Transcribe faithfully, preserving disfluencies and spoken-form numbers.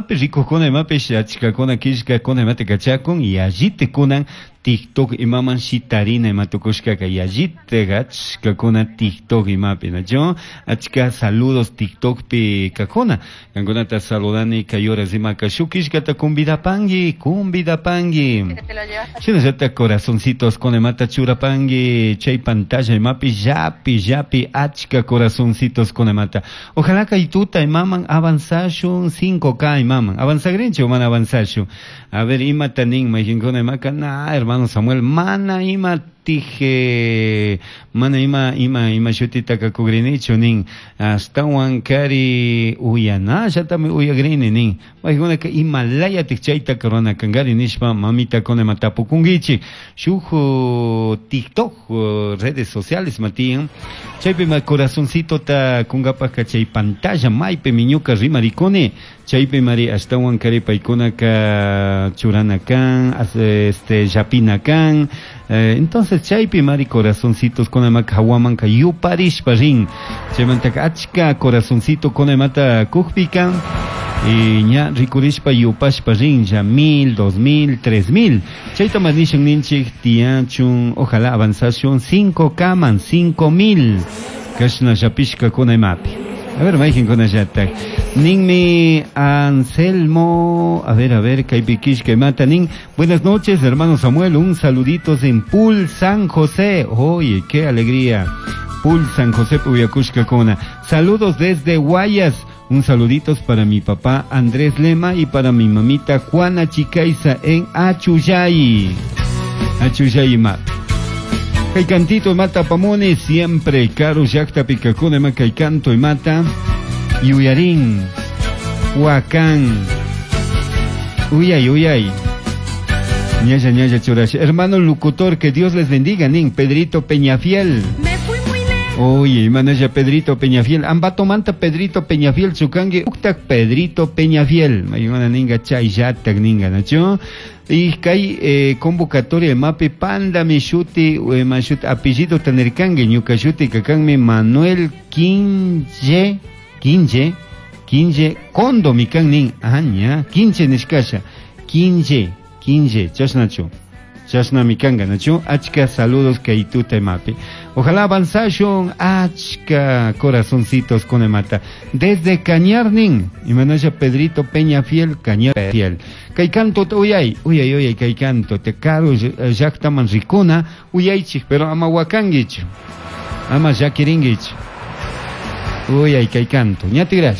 imapi rikukuna imapish achkakuna killkakuna imata kachakun yallita TikTok imaman shitarina ima tukushkaka yallita achkakuna TikTok imapi nachu achka saludos TikTokpi kakuna kankunata saludani kay horas imaka shuk killkata convidapangi convidapangi shinallata corazoncitos con imata churapangi chay pantalla imapi llapi llapi achka corazoncitos con imata ojalá kay tuta imaman avanzashun cinco K imaman avanzagrinchu mana avanzashun a ver imata nin mayqinkuna imaka na hermano Samuel mana ima tije mana ima ima ima shutita kakugrinichu nin astawan kari uyanallatami uyagrini nin maykunaka imalayatik chayta rurana kankari nishpa mamitakuna ima tapukunkichik shuk TikTok redes sociales matiyan chaypi ma corazoncitota kunkapaka chay pantalla maypimi ñuka rimarikuni chaypi mari ashtawan kari paykunaka churana kan este llapina kan eh, entonces chaypi mari corazoncitos kunamaka hawamanka yuparishpa rin chaymantaka achka corazoncito kunamata kukpika y ña rikurishpa yupashpa rinlla mil, dos mil, tres mil chayta mas nishan ninchik tiyachun ojalá avanzashun cinco kaman cinco mil kashna llapishka kuna imapi a ver mayqinkunallatak ninmi Anselmo a ver a ver kaypi killka imata nin buenas noches hermano Samuel un saluditos en Pool San José oye qué alegría Pool San José uyakushkakuna saludos desde Guayas un saluditos para mi papá Andrés Lema y para mi mamita Juana Chicaiza en Achuyay Achuyay imapi Kay cantito mata pamone siempre karu llaqtapi kakuna ima kay canto imata yuyarin wakan uyay uyay ñalla ñalla churash hermano locutor que Dios les bendiga nin Pedrito Peñafiel Me fui muy lejos. Oye, manaya Pedrito Peñafiel, ambatomanta Pedrito Peñafiel, chukangi, uktak Pedrito Peñafiel, maymana ninga chayllatak ninga, nachu? Y kay eh, convocatoria imapi panda mi shuti, eh, mashuti, apellido tanirkangi, ñuka shuti kakanmi Manuel Quinche, Quinche, Quinche, Kondo mi kan nin, aña, Quinche nishkasha, Quinche, Quinche, chashnachu. Chashnami kanga, nachu? Achka saludos kay tuta imapi. Ojalá avanzashun achka corazoncitos con mata. Desde Cañarnin, imanaya Pedrito Peña Fiel, Cañar Fiel. Kay canto uyay, uyay, uyay, kay canto, te karu llaqtaman rikuna, uyaychik, pero ama wakanguich. Ama llakiringuich. Uyay, kay canto. Ñatigrash.